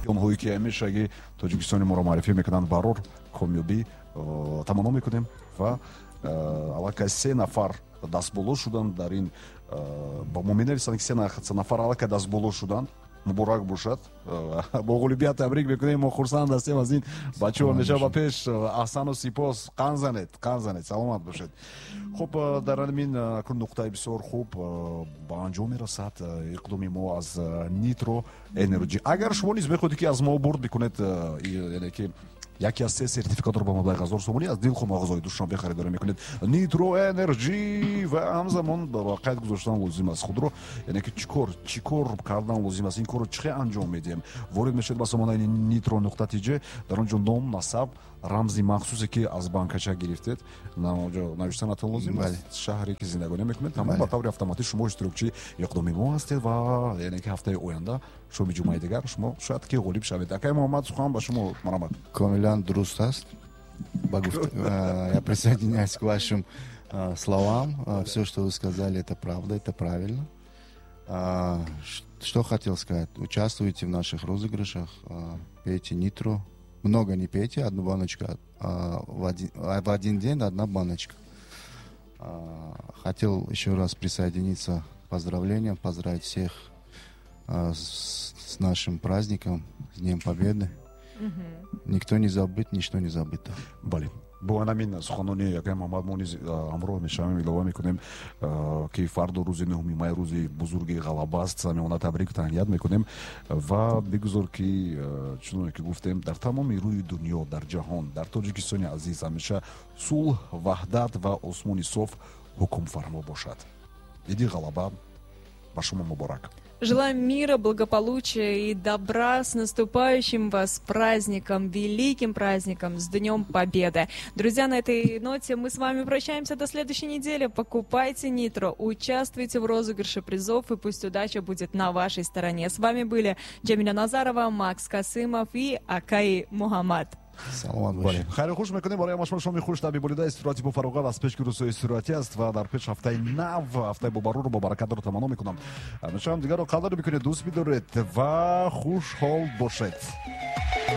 Онҳое ки ҳамешагӣ Тоҷикистони моро муаррифӣ мекунанд, барор комёбӣ таманно мекунем ва аллакай се нафар дастболо шуданд дар ин, ба мо менависанд, ки се нафар аллакай дастболо шуданд. Муборак бошад, бо ғолибият табрик мекунем. Мо хурсанд ҳастем аз ин бачаҳо. Ҳамеша ба пеш, аҳсану сипос. Қанд занед, қанд занед, саломат бошед. Хуб, дар ҳамин акнун нуқтаи бисёр хуб ба анҷом мерасад иқдоми мо аз Нитро Энерҷи. Агар шумо низ мехоҳед, ки аз мо бурд бикунед, яъне ки яке аз се сертификатро ба маблағи 1000 сомонӣ аз дилхоҳ мағозаҳои Душанбе харидорӣ мекунед Нитро Энерҷи ва ҳамзамон ба қайд гузоштан лозим аст худро, яъне ки чӣ кор кардан лозим аст, ин корро чӣ хел анҷом медиҳем? Ворид мешавед ба сомонаи nitro.tj, дар он ҷо ном, насаб, рамзи махсусе, ки аз банкача гирифтед, онҷо навиштанатон лозим аст, шаҳре ки зиндагонӣ мекунед, тамом, ба таври автоматӣ шумо иштирокчии иқдоми мо ҳастед ва яъне ки ҳафтаи оянда, шоми ҷумъаи дигар, шумо шояд ки ғолиб шавед. Акай Муҳаммад, сухан ба шумо, марҳамат. Комилан дуруст аст. Я присоединяюсь к вашим словам. Все, что вы сказали, это правда, это правильно. Что хотел сказать? Участвуйте в наших розыгрышах, пейте Нитро. Много не пейте, одну баночку в один день, одна баночка. Хотел еще раз присоединиться к поздравлениям, поздравить всех с нашим праздником, с Днем Победы. Никто не забыт, ничто не забыто. Бале, бо ҳамин суханони акай Муҳаммад мо низ ҳамроҳ мешавем. Илова мекунем, ки фардо, рӯзи 9 май, рӯзи бузурги ғалаба аст. Самимона табрик таҳният мекунем ва бигузор, ки чуноне ки гуфтем, дар тамоми рӯи дунё, дар ҷаҳон, дар Тоҷикистони азиз ҳамеша сулҳ, ваҳдат ва осмони соф ҳукмфармо бошад. Иди ғалаба ба шумо муборак! Желаем мира, благополучия и добра. С наступающим вас праздником, великим праздником, с Днем Победы. Друзья, на этой ноте мы с вами прощаемся до следующей недели. Покупайте Нитро, участвуйте в розыгрыше призов, и пусть удача будет на вашей стороне. С вами были Джамиля Назарова, Макс Касымов и Акай Мухаммад. Саломат бошед. Хайру хуш мекунем барои ҳама шумо, шоми хуш, таби болида, истироҳати бофароғат аз пеш, ки рӯзҳои истироҳатӣ аст ва дар пеш ҳафтаи нав, ҳафтаи бобарору бобаракатро таманно мекунам. Ҳамеша ҳамдигарро қадр бикунед, дӯст бидоред ва хушҳол бошед.